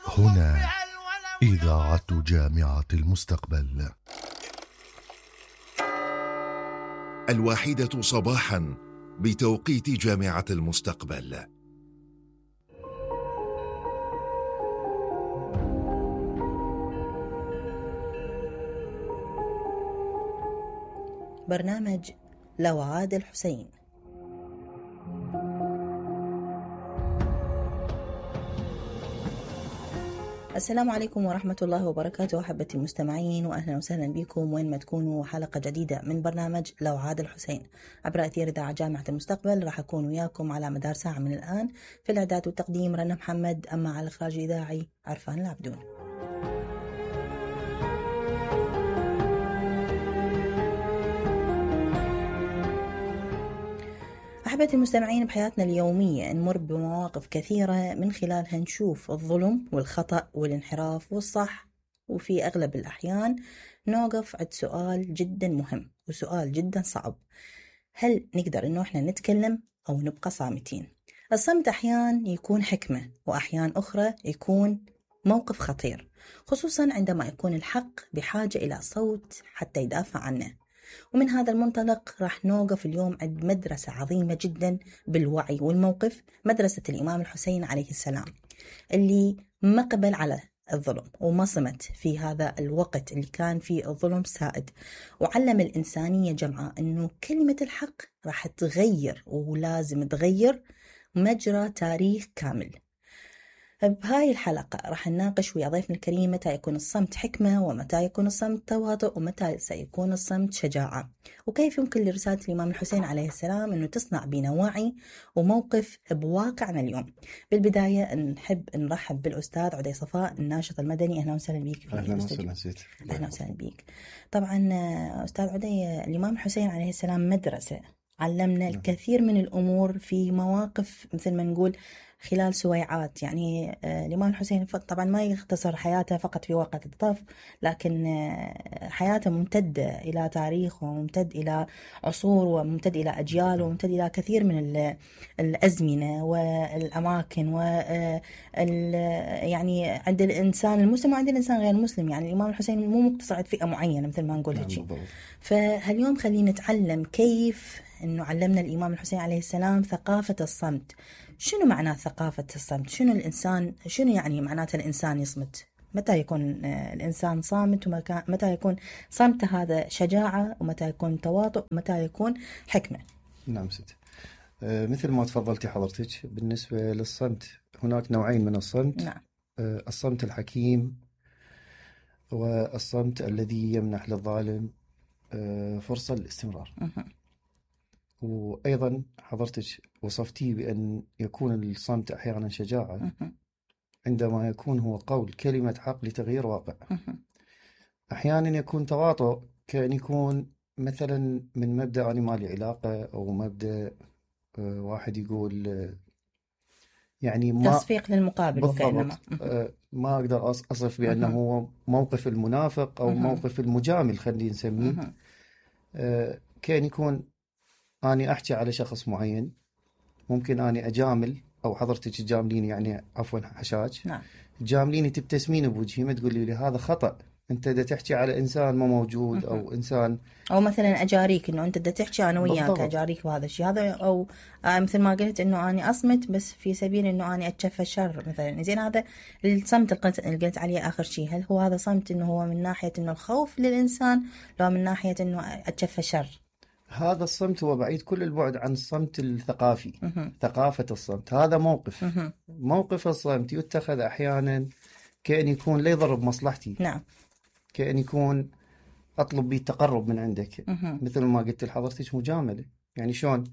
هنا إذاعة جامعة المستقبل. 1 صباحا بتوقيت جامعة المستقبل. برنامج لو عاد الحسين. السلام عليكم ورحمة الله وبركاته أحبتي المستمعين، وأهلا وسهلا بكم وين ما تكونوا. حلقة جديدة من برنامج لو عاد الحسين عبر أثير إذاعة جامعة المستقبل. راح أكون وياكم على مدار ساعة من الآن. في الإعداد والتقديم رنا محمد، أما على الإخراج الإذاعي عرفان العبدون. أحبتي المستمعين، بحياتنا اليومية نمر بمواقف كثيرة من خلالها نشوف الظلم والخطأ والانحراف والصح، وفي أغلب الأحيان نوقف عند سؤال جدا مهم وسؤال جدا صعب: هل نقدر إنه إحنا نتكلم أو نبقى صامتين؟ الصمت أحيان يكون حكمة، وأحيان أخرى يكون موقف خطير، خصوصا عندما يكون الحق بحاجة إلى صوت حتى يدافع عنه. ومن هذا المنطلق راح نوقف اليوم عند مدرسة عظيمة جدا بالوعي والموقف، مدرسة الإمام الحسين عليه السلام، اللي ما قبل على الظلم وما صمت في هذا الوقت اللي كان فيه الظلم سائد، وعلم الإنسانية جمعاء أنه كلمة الحق راح تغير ولازم تغير مجرى تاريخ كامل. بهاي الحلقة راح نناقش ويا ضيفنا الكريم متى يكون الصمت حكمة، ومتى يكون الصمت تواطؤ، ومتى سيكون الصمت شجاعة، وكيف يمكن لرسالة الإمام الحسين عليه السلام أنه تصنع بنا وعي وموقف بواقعنا اليوم. بالبداية نحب نرحب بالأستاذ عدي صفاء، الناشط المدني. أهلا وسهلا بك. أهلا وسهلا سيد. أهلا وسهلا بك. طبعا أستاذ عدي، الإمام الحسين عليه السلام مدرسة علمنا الكثير من الأمور في مواقف مثل ما نقول خلال سويعات. يعني الإمام الحسين طبعا ما يختصر حياته فقط في وقت الطف، لكن حياته ممتدة إلى تاريخ، وممتد إلى عصور، وممتد إلى أجيال، وممتد إلى كثير من الأزمنة والأماكن يعني عند الإنسان المسلم وعند الإنسان غير المسلم. يعني الإمام الحسين مو مقتصر على فئة معينة مثل ما نقول هيك. فاليوم خلينا نتعلم كيف أنه علمنا الإمام الحسين عليه السلام ثقافة الصمت. شنو معنى ثقافة الصمت؟ شنو الإنسان، شنو يعني معناته الإنسان يصمت؟ متى يكون الإنسان صامت، ومتى يكون صمت هذا شجاعة، ومتى يكون تواطؤ، ومتى يكون حكمة؟ نعم ست. مثل ما تفضلتي حضرتك، بالنسبة للصمت هناك نوعين من الصمت. نعم. الصمت الحكيم، والصمت الذي يمنح للظالم فرصة للاستمرار. وأيضا حضرتك وصفتيه بأن يكون الصمت أحيانا شجاعة عندما يكون هو قول كلمة حق لتغيير واقع. أحيانا يكون تواطؤ، كأن يكون مثلا من مبدأ أنا ما لي علاقة، أو مبدأ واحد يقول يعني ما تصفيق للمقابل، وكأنما ما أقدر أصف بأنه هو موقف المنافق أو موقف المجامل، خلينا نسميه. كأن يكون أنا أحكي على شخص معين، ممكن أنا أجامل أو حضرتك تجامليني، يعني عفوا حشاش. نعم. تجامليني تبتسمين بوجهي، ما تقولي لي هذا خطأ، أنت دا تحكي على إنسان ما موجود، أو إنسان، أو مثلا أجاريك إنه أنت دا تحكي أنا وياك بالضبط. أجاريك بهذا الشيء هذا، أو مثل ما قلت إنه أنا أصمت بس في سبيل إنه أنا أتشفى الشر مثلا. زين، هذا الصمت اللي قلت عليه آخر شيء، هل هو هذا صمت إنه هو من ناحية إنه الخوف للإنسان، لو من ناحية إنه أتشفى الشر؟ هذا الصمت هو بعيد كل البعد عن الصمت الثقافي. ثقافة الصمت هذا موقف. موقف الصمت يتخذ أحيانا كأن يكون لا يضر بمصلحتي. نعم. كأن يكون أطلب بي التقرب من عندك. مثل ما قلت لحضرتك، مجاملة. يعني شلون؟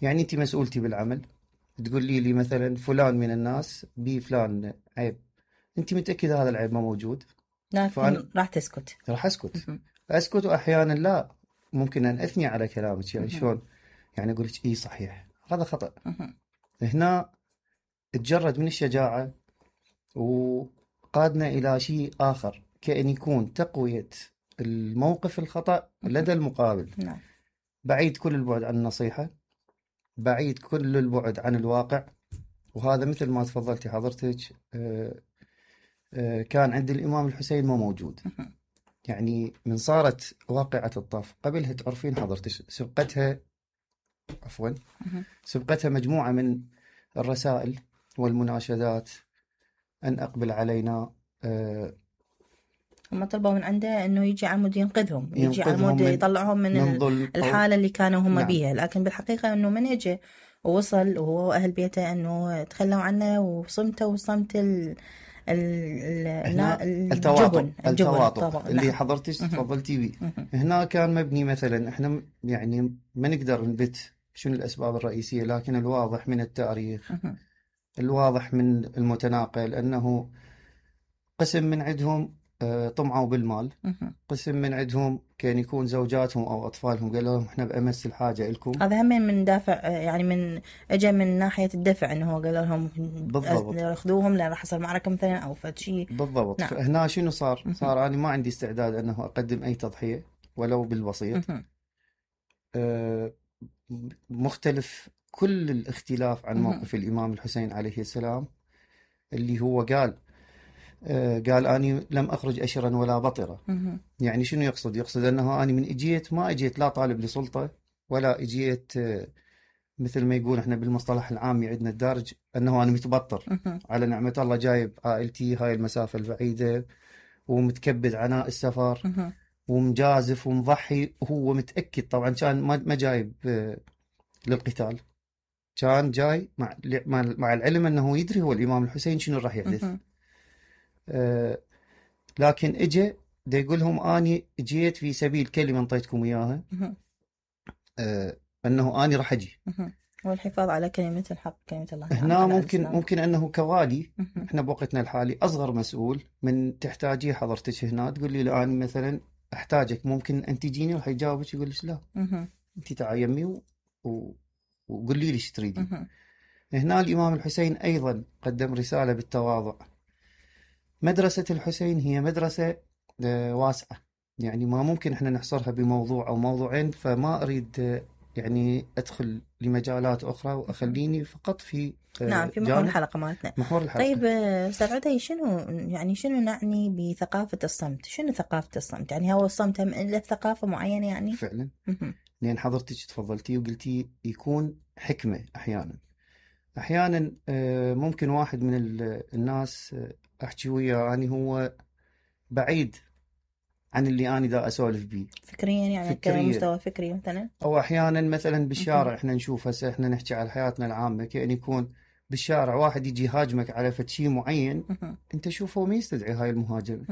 يعني أنت مسؤولتي بالعمل، تقول لي مثلا فلان من الناس بي فلان عيب، أنت متأكدة هذا العيب ما موجود؟ لكن راح تسكت. راح أسكت. وأحيانا لا، ممكن أن أثني على كلامك. يعني شلون؟ يعني أقول لك إيه صحيح، هذا خطأ. هنا تجرد من الشجاعة وقادنا إلى شيء آخر، كأن يكون تقوية الموقف الخطأ لدى المقابل. نعم. بعيد كل البعد عن النصيحة، بعيد كل البعد عن الواقع. وهذا مثل ما تفضلتي حضرتك، كان عند الإمام الحسين ما موجود. يعني من صارت واقعة الطف قبلها تعرفين حضرتك سبقتها مجموعة من الرسائل والمناشدات أن أقبل علينا. هم طلبوا من عنده انه يجي عمود ينقذهم يجي عمود يطلعهم من الحالة اللي كانوا هم نعم. بيها، لكن بالحقيقة انه من اجى ووصل وهو واهل بيته انه تخلوا عنه وصمته وصمت التواطؤ اللي نعم. حضرتك تفضلتي بيه. هنا كان مبني مثلا، احنا يعني ما نقدر نبت شنو الأسباب الرئيسية، لكن الواضح من التاريخ الواضح من المتناقل أنه قسم من عندهم طمعوا بالمال، قسم من عندهم كان يكون زوجاتهم أو أطفالهم قالوا لهم إحنا بأمس الحاجة لكم. هذا هم من دافع، يعني من أجا من ناحية الدفع إنه هو قالوا لهم بالضبط أخذوهم لأن راح يصير معركة مثلا أو فد شيء. بالضبط. نعم. فهنا شنو صار أنا ما عندي استعداد أنه أقدم أي تضحية ولو بالبسيط. مختلف كل الاختلاف عن موقف الإمام الحسين عليه السلام، اللي هو قال أني لم أخرج أشرا ولا بطرا. يعني شنو يقصد أنه أنا من إجيت ما إجيت لا طالب لسلطة ولا إجيت مثل ما يقول إحنا بالمصطلح العامي عندنا الدارج أنه أنا متبطر على نعمة الله، جايب عائلتي هاي المسافة البعيدة ومتكبد عناء السفر ومجازف ومضحي، وهو متأكد طبعا كان ما جايب للقتال، كان جاي مع العلم أنه يدري هو الإمام الحسين شنو راح يحدث. لكن اجى دا يقول لهم اني جيت في سبيل كلمه انطيتكم اياها، انه اني راح اجي والحفاظ على كلمه الحق كلمه الله. هنا ممكن انه كوالي احنا بوقتنا الحالي اصغر مسؤول من تحتاجيه حضرتك هنا تقول لي الان مثلا احتاجك، ممكن انت تجيني راح يجاوبك يقول لك لا انت تعال يمي وقول لي ايش تريدي. هنا الامام الحسين ايضا قدم رساله بالتواضع. مدرسة الحسين هي مدرسة واسعة، يعني ما ممكن احنا نحصرها بموضوع أو موضوعين، فما أريد يعني أدخل لمجالات أخرى وأخليني فقط في نعم في محور الحلقة مالتنا. محور الحلقة. طيب أستاذ عدي، شنو نعني بثقافة الصمت؟ شنو ثقافة الصمت؟ يعني هو الصمت له ثقافة معينة يعني؟ فعلا لأن حضرتك تفضلتي وقلتي يكون حكمة أحيانا ممكن واحد من الناس أحكي وياه يعني هو بعيد عن اللي أنا دا أسولف بيه فكريا، يعني كمستوى فكري مثلا، أو أحيانا مثلا بالشارع إحنا نشوف هسه إحنا نحكي على حياتنا العامة، كأن يكون بالشارع واحد يجي هاجمك على شيء معين أنت شوفه ما يستدعي هاي المهاجمة،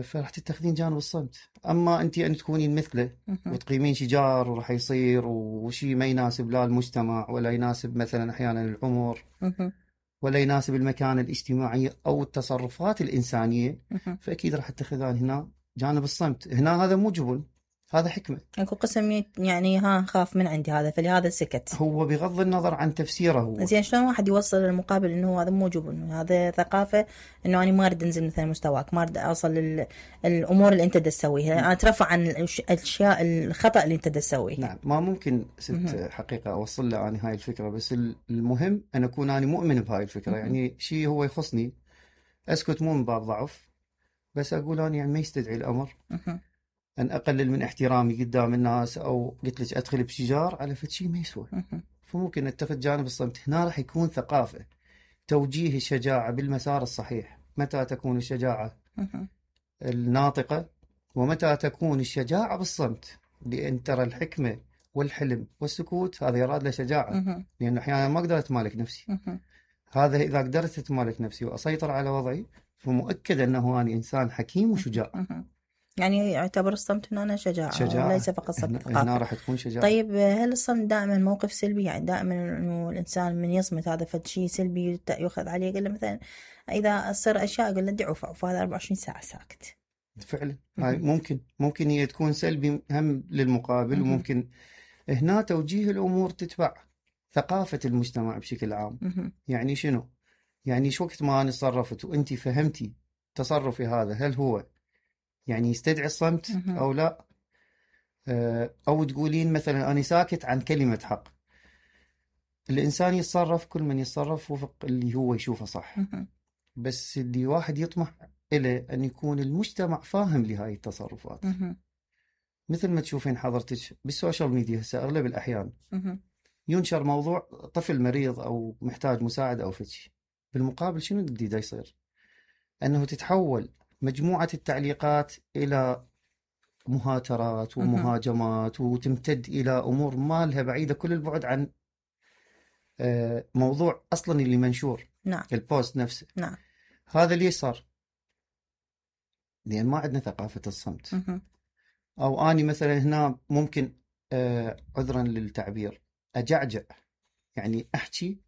فراح تتخذين جانب الصمت. أما أنت أن تكونين مثله وتقيمين شجار وراح يصير وشي ما يناسب لا المجتمع ولا يناسب مثلا أحيانا العمر ولا يناسب المكانة الاجتماعية أو التصرفات الإنسانية، فأكيد راح تتخذان هنا جانب الصمت. هنا هذا مو جبن، هذا حكمة. اكو قسم يعني خاف من عندي هذا فلهذا سكت، هو بغض النظر عن تفسيره هو. زين شلون واحد يوصل للمقابل انه هذا مو جبن، هذا ثقافة، انه انا ما اريد انزل مثلا مستواك، ما اريد اوصل الامور اللي انت تسويها، انا اترفع عن الاشياء الخطأ اللي انت تسويه. نعم ما ممكن ست حقيقة اوصل له انا هاي الفكرة، بس المهم ان اكون انا مؤمن بهاي الفكرة. يعني شيء هو يخصني اسكت مو من باب ضعف، بس اقول انا يعني ما يستدعي الامر أن أقلل من احترامي قدام الناس أو قلت لك أدخل بشجار على فد شيء ما يسوى، فممكن نتخذ جانب الصمت. هنا راح يكون ثقافة توجيه الشجاعة بالمسار الصحيح. متى تكون الشجاعة الناطقة ومتى تكون الشجاعة بالصمت، لأن ترى الحكمة والحلم والسكوت هذا يراد له شجاعة، لأن أحيانا ما أقدر أتمالك نفسي. هذا إذا قدرت أتمالك نفسي وأسيطر على وضعي فمؤكد أنه أنا إنسان حكيم وشجاع. يعني يعتبر الصمت هنا شجاعة وليس فقط صمت هنا راح تكون شجاعة. طيب هل الصمت دائما موقف سلبي؟ يعني دائما انه الانسان من يصمت هذا فد شيء سلبي يؤخذ عليه؟ قال له مثلا اذا صار اشياء قال له ادعوا فهذا 24 ساعة ساكت. فعلا هاي ممكن هي تكون سلبي هم للمقابل، وممكن هنا توجيه الامور تتبع ثقافة المجتمع بشكل عام. يعني شنو؟ يعني شو وقت ما انا تصرفت وانت فهمتي تصرفي هذا هل هو يعني يستدعي الصمت أو لا، أو تقولين مثلا أنا ساكت عن كلمة حق. الإنسان يتصرف، كل من يتصرف وفق اللي هو يشوفه صح، بس اللي واحد يطمح إليه أن يكون المجتمع فاهم لهاي التصرفات. مثل ما تشوفين حضرتك بالسوشيال ميديا هسه أغلب الأحيان ينشر موضوع طفل مريض أو محتاج مساعدة أو فتشي، بالمقابل شنو اللي دا يصير؟ أنه تتحول مجموعة التعليقات إلى مهاترات ومهاجمات، وتمتد إلى أمور ما لها بعيدة كل البعد عن موضوع أصلا اللي منشور. نعم. البوست نفسه. نعم. هذا ليش صار؟ لأن ما عندنا ثقافة الصمت. أو أني مثلا هنا ممكن عذرا للتعبير أجعجع، يعني أحكي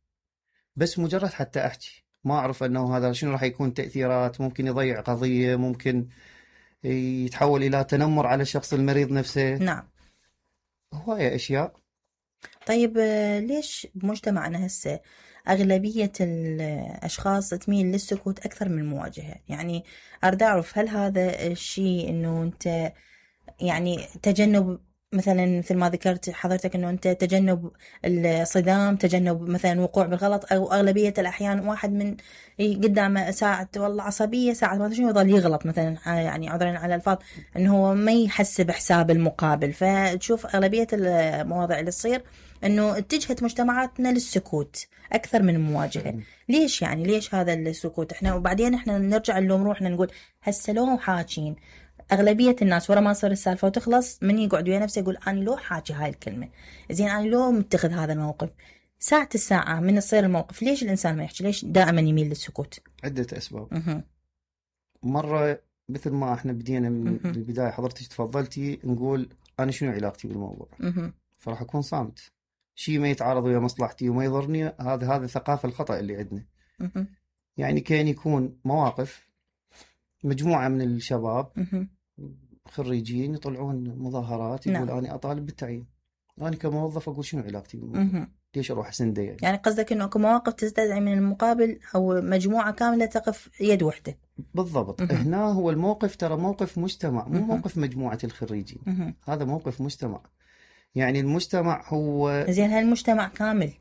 بس مجرد حتى أحكي، ما أعرف أنه هذا شنو راح يكون تأثيرات، ممكن يضيع قضية، ممكن يتحول إلى تنمر على الشخص المريض نفسه. نعم. هواية أشياء. طيب ليش بمجتمعنا هسه أغلبية الأشخاص تميل للسكوت أكثر من المواجهة؟ يعني أريد أعرف هل هذا الشيء أنه أنت يعني تجنب مثل ما ذكرت حضرتك أنه أنت تجنب الصدام، تجنب مثلا الوقوع بالغلط، أو أغلبية الأحيان واحد من قدامه ساعة والله عصبية ساعة ما شنو يظل يغلط مثلا، يعني عذرا على الألفاظ، أنه هو ما يحسب حساب المقابل. فتشوف أغلبية المواضيع اللي تصير أنه اتجهت مجتمعاتنا للسكوت أكثر من المواجهة. ليش يعني ليش هذا السكوت؟ إحنا وبعدين إحنا نرجع نلوم روحنا نقول هسه لو حاكين. أغلبية الناس ورا ما تصير السالفة وتخلص من يقعد ويا نفسه يقول أنا لو حاكي هاي الكلمة زين، أنا لو متخذ هذا الموقف. ساعة الساعة من يصير الموقف ليش الإنسان ما يحكي؟ ليش دائما يميل للسكوت؟ عدة أسباب. مرة مثل ما احنا بدينا من البداية حضرتك تفضلتي نقول أنا شنو علاقتي بالموضوع، فراح أكون صامت. شيء ما يتعارض ويا مصلحتي وما يضرني، هذا ثقافة الخطأ اللي عندنا. يعني كان يكون مواقف مجموعة من الشباب خريجين يطلعون مظاهرات يقول أنا أطالب بالتعيين، أنا كموظف أقول شنو علاقتي بالموضوع؟ ليش أروح أسنده؟ يعني قصدك إنه كمواقف تستدعي من المقابل أو مجموعة كاملة تقف يد واحدة. بالضبط. هنا هو الموقف ترى موقف مجتمع، مو موقف مجموعة الخريجين. هذا موقف مجتمع. يعني المجتمع هو زين، هالمجتمع كامل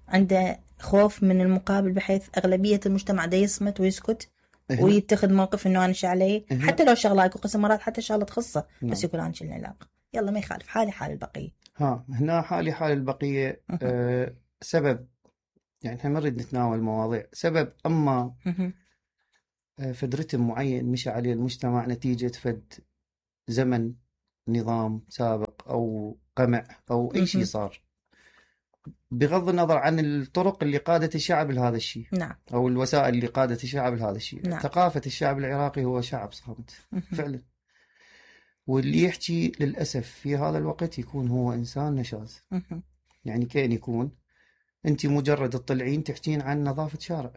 عنده خوف من المقابل بحيث أغلبية المجتمع ده يصمت ويسكت ويتخذ موقف إنه أنا علي، حتى لو شغلة يكون قسم مرات حتى شغلة تخصه. بس يقول أنا شلنا علاقة، يلا ما يخالف، حالي حال البقية. هنا حالي حال البقية. سبب يعني احنا ما نريد نتناول مواضيع سبب، أما فد رتم معين مشى عليه المجتمع نتيجة فد زمن نظام سابق أو قمع أو أي شيء صار، بغض النظر عن الطرق اللي قادت الشعب لهذا الشيء. نعم. أو الوسائل اللي قادت الشعب لهذا الشيء. نعم. ثقافة الشعب العراقي هو شعب صامت فعلا، واللي يحكي للأسف في هذا الوقت يكون هو إنسان نشاز. يعني كأن يكون أنت مجرد تطلعين تحكين عن نظافة شارع،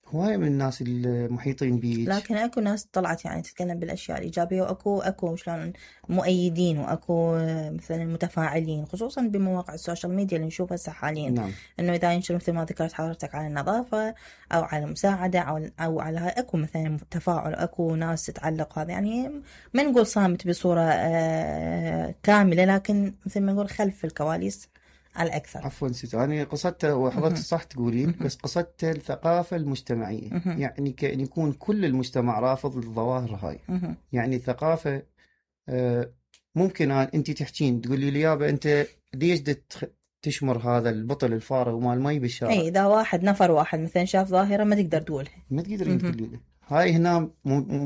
هواية من الناس المحيطين بيك، لكن اكو ناس طلعت يعني تتكلم بالاشياء الايجابيه، واكو شلون مؤيدين، واكو مثلا متفاعلين، خصوصا بمواقع السوشيال ميديا اللي نشوفها هسه حاليا. نعم. انه اذا ينشر مثل ما ذكرت حضرتك على النظافه او على المساعده او على هاي، اكو مثلا تفاعل، اكو ناس تتعلق. هذا يعني ما نقول صامت بصوره كامله، لكن مثل ما نقول خلف الكواليس على الأكثر. عفوا ست، أنا قصدت وحضرتك صح تقولين، بس قصدت الثقافة المجتمعية. يعني كأن يكون كل المجتمع رافض للظواهر هاي. يعني الثقافة ممكن أنت تحكين تقولي لي يابا أنت ليش تشمر هذا البطل الفارغ ومال مي بالشارع؟ أي إذا نفر واحد مثلا شاف ظاهرة ما تقدر تقولها، ما تقدرين تقولي له. هاي هنا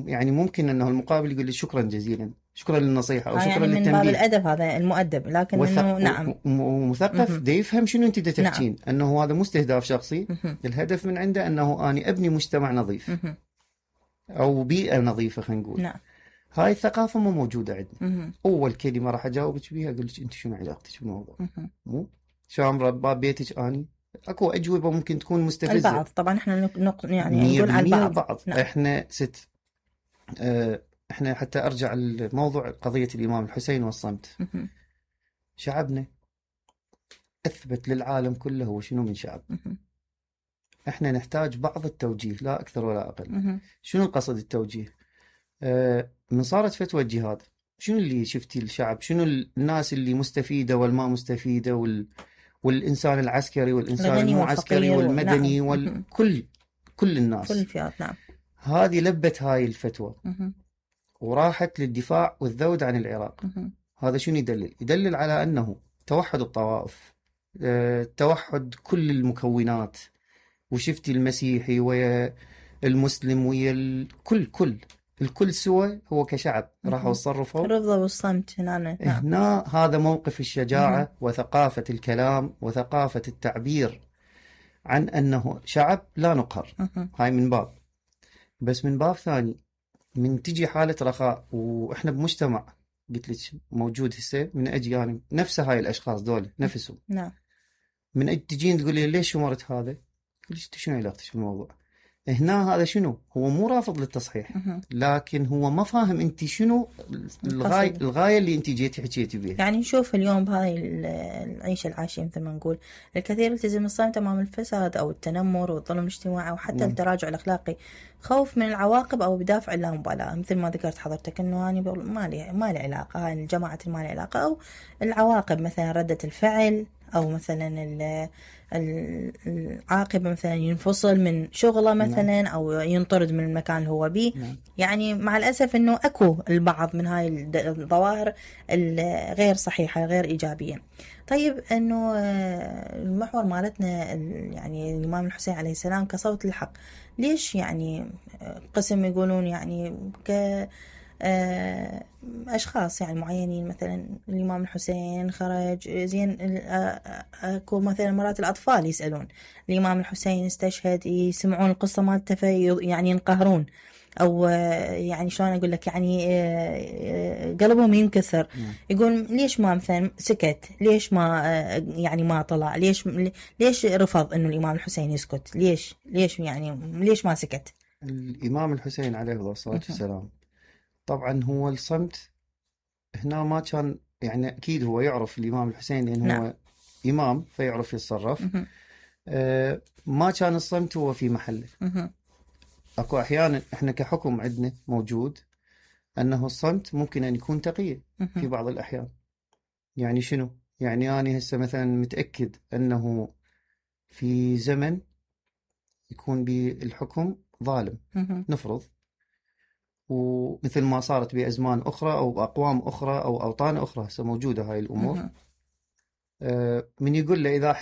يعني ممكن أنه المقابل يقول لي شكرا جزيلا، شكرا للنصيحة أو شكرا يعني للتنبيه. من باب الأدب، هذا المؤدب، لكن إنه نعم ومثقف دا يفهم شنو أنت دا تحكين. نعم. أنه هذا مو استهداف شخصي، الهدف من عنده أنه أنا أبني مجتمع نظيف أو بيئة نظيفة خلينا نقول. نعم. هاي الثقافة مو موجودة عندنا. أول كلمة راح أجاوبك بيها أقول لك أنت شنو علاقتك بالموضوع؟ مو شامرة باب بيتك أني. أكو أجوبة ممكن تكون مستفزة. البعض طبعا إحنا يعني نقول على البعض. نعم. إحنا احنا حتى ارجع لموضوع قضية الامام الحسين والصمت. شعبنا اثبت للعالم كله هو شنو من شعب. احنا نحتاج بعض التوجيه لا اكثر ولا اقل. شنو القصد التوجيه؟ من صارت فتوى الجهاد شنو اللي شفتي الشعب؟ شنو الناس اللي مستفيدة والما مستفيدة والإنسان العسكري والإنسان الغني المو عسكري والفقير والمدني نعم. كل الناس. كل الفئات نعم. هذه لبت هاي الفتوى مهم. وراحت للدفاع والذود عن العراق. مهم. هذا شنو يدلل؟ يدلل على أنه توحد الطوائف، توحد كل المكونات، وشفتي المسيحي ويا المسلم ويا الكل سوى هو كشعب راحوا تصرفوا. الرفض والصمت هنا نعم. هنا هذا موقف الشجاعة وثقافة الكلام وثقافة التعبير عن أنه شعب لا نقهر. هاي من باب. بس من باب ثاني، من تجي حالة رخاء وإحنا بمجتمع قلت لك موجود هسه، من أجي يعني نفس هاي الأشخاص دول نفسهم نعم. من أجي تجين تقول لي ليش شمرت هذا؟ ليش شنو علاقتك في الموضوع؟ هنا هذا شنو؟ هو مو رافض للتصحيح، لكن هو ما فاهم انت شنو الغاية اللي انت جيتي حكيتي بيها. يعني نشوف اليوم بهاي العيشة العاشية مثل ما نقول الكثير يلتزم الصمت امام الفساد او التنمر والظلم الاجتماعي او حتى التراجع الاخلاقي، خوف من العواقب او بدافع اللامبالاة، مثل ما ذكرت حضرتك انه انا ما لي علاقة، هاي الجماعة ما لي علاقة، او العواقب مثلا ردة الفعل او مثلا العاقبة مثلا ينفصل من شغله مثلا أو ينطرد من المكان اللي هو بيه. يعني مع الأسف أنه أكو البعض من هاي الظواهر الغير صحيحة غير إيجابية. طيب أنه المحور مالتنا يعني الإمام الحسين عليه السلام كصوت الحق، ليش يعني قسم يقولون يعني أشخاص يعني معينين مثلا الإمام الحسين خرج زين، أكو مثلا مرات الأطفال يسألون الإمام الحسين استشهد، يسمعون القصة مالته يعني ينقهرون أو يعني شلون أقول لك يعني قلبهم ينكسر. يقول ليش ما مثلا سكت؟ ليش ما يعني ما طلع؟ ليش رفض إنه الإمام الحسين يسكت؟ ليش يعني ليش ما سكت؟ الإمام الحسين عليه الصلاة والسلام طبعا هو الصمت هنا ما كان، يعني أكيد هو يعرف الإمام الحسين لأنه هو إمام فيعرف يتصرف. ما كان الصمت هو في محله. أكو أحيانا إحنا كحكم عندنا موجود أنه الصمت ممكن أن يكون تقية في بعض الأحيان. يعني شنو؟ يعني أنا هسه مثلا متأكد أنه في زمن يكون بالحكم ظالم نفرض، ومثل ما صارت بأزمان أخرى أو بأقوام أخرى أو أوطان أخرى هسه موجودة هاي الأمور. من يقول له إذا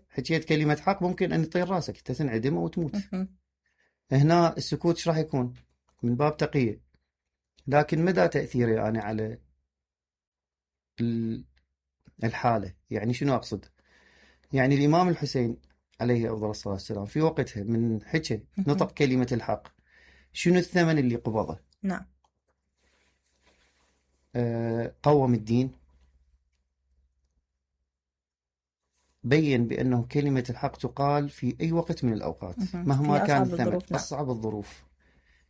حكيت كلمة حق ممكن أن يطير راسك تنعدم أو تموت. هنا السكوت ايش راح يكون؟ من باب تقية. لكن مدى تأثيره يعني على الحالة؟ يعني شنو أقصد؟ يعني الإمام الحسين عليه أفضل الصلاة والسلام في وقتها من نطق كلمة الحق، شنو الثمن اللي قبضه؟ نعم. قوم الدين، بين بأنه كلمة الحق تقال في أي وقت من الأوقات مهما كان الثمن. أصعب الظروف.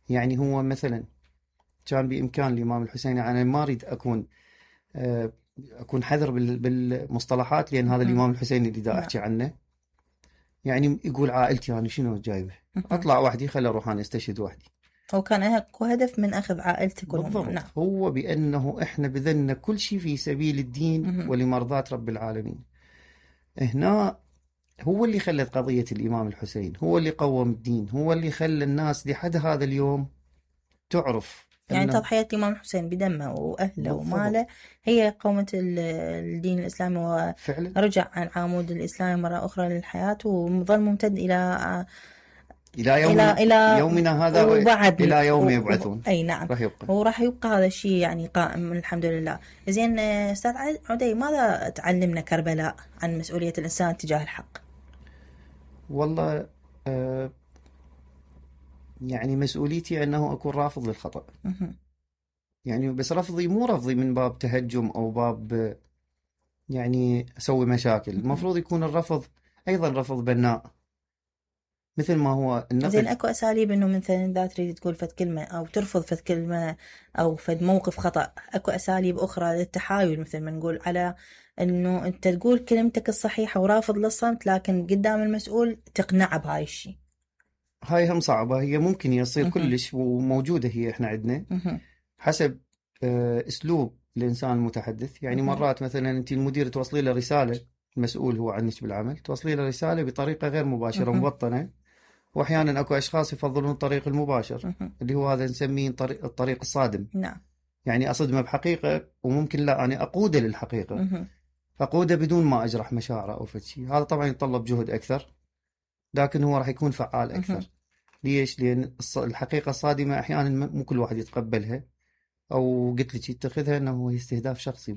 يعني هو مثلا كان بإمكان الإمام الحسين، يعني ما أريد أكون حذر بالمصطلحات لأن هذا الإمام الحسين اللي دا أحكي عنه، يعني يقول عائلتي أنا شنو جايبه، أطلع وحدي خلي أروح أنا استشهد وحدي. هو كان هدف من أخذ عائلته كلهم. نعم. هو بأنه إحنا بذلنا كل شيء في سبيل الدين ولمرضاة رب العالمين. هنا هو اللي خلت قضية الإمام الحسين، هو اللي قوم الدين، هو اللي خلى الناس لحد هذا اليوم تعرف يعني تضحية الإمام الحسين بدمه وأهله وماله هي قومة الدين الإسلامي، ورجع عن عمود الإسلام مرة أخرى للحياة وظل ممتد إلى يومنا هذا وبعد إلى يوم يبعثون. أي نعم. راح يبقى هذا الشيء يعني قائم الحمد لله. زين أستاذ عدي، ماذا تعلمنا كربلاء عن مسؤولية الإنسان تجاه الحق؟ والله يعني مسؤوليتي أنه أكون رافض للخطأ. يعني بس رفضي مو رفضي من باب تهجم أو باب يعني أسوي مشاكل. المفروض يكون الرفض أيضا رفض بناء، مثل ما هو النقد. زين أكو أساليب إنه مثلا إذا تريد تقول فد كلمة أو ترفض فد كلمة أو فد موقف خطأ، أكو أساليب أخرى للتحايل، مثل ما نقول على إنه أنت تقول كلمتك الصحيحة ورافض للصمت، لكن قدام المسؤول تقنعه بهاي الشيء. هاي هم صعبة، هي ممكن يصير كلش وموجودة هي إحنا عندنا حسب أسلوب الإنسان المتحدث. يعني مرات مثلا أنت المدير توصلي له رسالة المسؤول هو عنك بالعمل، توصلي له رسالة بطريقة غير مباشرة مبطنة. وأحيانا أكو أشخاص يفضلون الطريق المباشر اللي هو هذا نسميه الطريق الصادم. نعم. يعني أصدمه بحقيقة وممكن لا أنا أقوده للحقيقة، أقوده بدون ما أجرح مشاعره أو فشي. هذا طبعا يتطلب جهد أكثر، لكن هو راح يكون فعال أكثر. ليش؟ لأن الحقيقة الصادمة أحيانا مو كل واحد يتقبلها، أو قلت لك يتخذها أنه هو استهداف شخصي،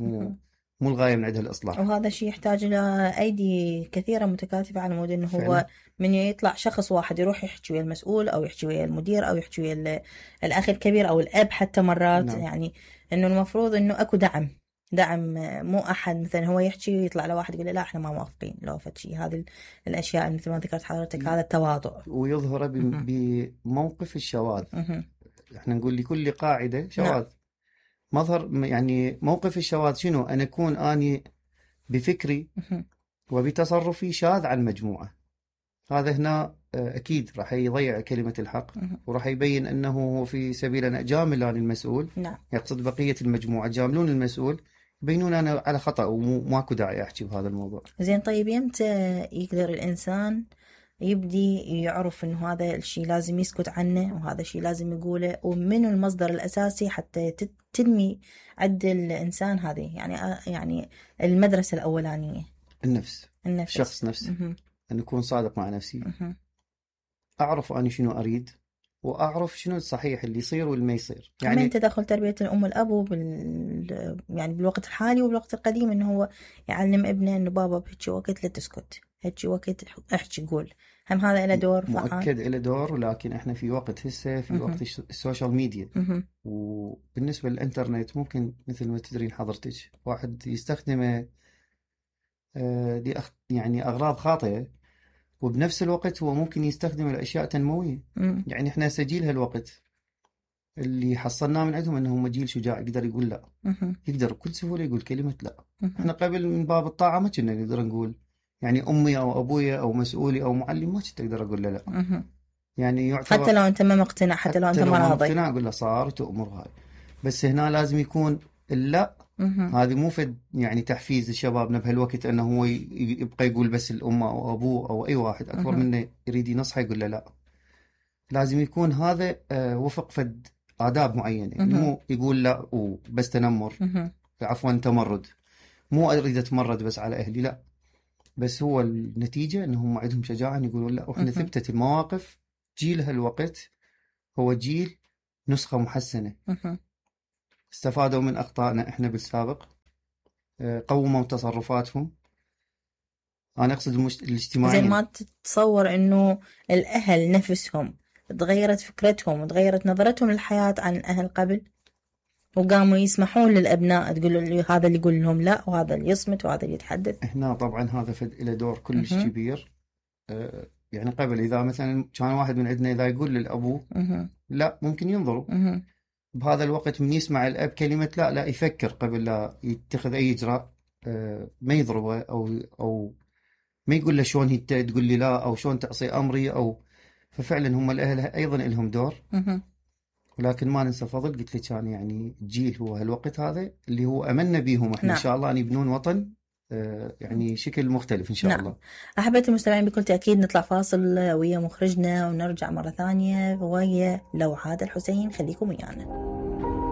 مو الغاية من عندها الإصلاح. وهذا الشيء يحتاج إلى أيدي كثيرة متكاتفة على مود أنه هو فعلا. من يطلع شخص واحد يروح يحكي ويا المسؤول أو يحكي ويا المدير أو يحكي ويا الأخ الكبير أو الأب حتى مرات. نعم. يعني أنه المفروض أنه أكو دعم، مو أحد مثلا هو يحكي ويطلع لواحد يقول لا إحنا ما موافقين لو فشي. هذه الأشياء مثل ما ذكرت حضرتك، هذا التواضع ويظهر بموقف الشواذ. إحنا نقول لكل قاعدة شواذ. نعم. مظهر يعني موقف الشواذ شنو؟ أن أكون أني بفكري وبتصرفي شاذ عن مجموعة. هذا هنا أكيد راح يضيع كلمة الحق، وراح يبين أنه في سبيل أن أجامل عن المسؤول. نعم. يقصد بقية المجموعة جاملون المسؤول، يبينون أنا على خطأ وماكو داعي أحكي بهذا الموضوع. زين، طيب يمتى يقدر الإنسان يبدي يعرف إنه هذا الشيء لازم يسكت عنه وهذا الشيء لازم يقوله، ومنه المصدر الأساسي حتى تنمي عند الإنسان هذه يعني المدرسة الأولانية؟ النفس. الشخص نفسه. أن أكون صادق مع نفسي. أعرف أنا شنو أريد، وأعرف شنو الصحيح اللي يصير واللي ما يصير. يعني من تدخل تربية الأم والأب يعني بالوقت الحالي وبالوقت القديم، إنه هو يعلم ابنه إنه بابا بهيك وقت لا تسكت، هيك وقت احكي قول. هم هذا له دور فعال؟ مؤكد له دور، ولكن إحنا في وقت هسه في وقت السوشيال ميديا. وبالنسبة للإنترنت ممكن مثل ما تدرين حضرتك واحد يستخدمه يعني أغراض خاطئة، وبنفس الوقت هو ممكن يستخدم الأشياء تنموية. يعني إحنا سجيل هالوقت اللي حصلناه من عندهم أنهم جيل شجاع يقدر يقول لا. يقدر بكل سهولة يقول كلمة لا. إحنا قبل من باب الطاعة ما كنا نقدر نقول، يعني أمي أو أبويا أو مسؤولي أو معلم ما كنت أقدر أقول له لا. يعني يعتبر حتى لو أنت ما مقتنع، حتى لو أنت ما راضي، مقتنع أقول له صار تأمر هاي. بس هنا لازم يكون اللا. هذه مو فد يعني تحفيز لشبابنا بهالوقت أنه هو يبقى يقول بس الأمة أو أبوه أو أي واحد أكبر منه يريد ينصحه يقول له لا. لازم يكون هذا وفق فد آداب معينة. يعني مو يقول لا وبس تنمر، عفوا تمرد. مو أريد أتمرد بس على أهلي، لا، بس هو النتيجة أنهم عندهم شجاعة يقولون لا. وإحنا ثبتت المواقف جيل هالوقت هو جيل نسخة محسنة. استفادوا من أخطائنا إحنا بالسابق، قوموا تصرفاتهم. أنا أقصد الاجتماعيين. زي ما تتصور إنه الأهل نفسهم تغيرت فكرتهم وتغيرت نظرتهم للحياة عن الأهل قبل، وقاموا يسمحون للأبناء تقول هذا اللي يقول لهم لا وهذا اللي يصمت وهذا اللي يتحدث. هنا طبعا هذا له دور كلش كبير. يعني قبل إذا مثلا كان واحد من عندنا إذا يقول للأبو لا ممكن ينظروا. بهذا الوقت من يسمع الأب كلمة لا يفكر قبل لا يتخذ أي إجراء. ما يضربه أو ما يقول له شلون هي تقول لي لا أو شلون تعصي أمري أو. ففعلا هم الأهل أيضا لهم دور. ولكن ما ننسى فضل قلت لك كان يعني الجيل هو هالوقت هذا اللي هو أملنا بيهم احنا. نعم. إن شاء الله أن يبنون وطن يعني شكل مختلف إن شاء نعم. الله. أحبتي المستمعين، بكل تأكيد نطلع فاصل ويا مخرجنا ونرجع مرة ثانية ويا لوعاد الحسين. خليكم ويانا.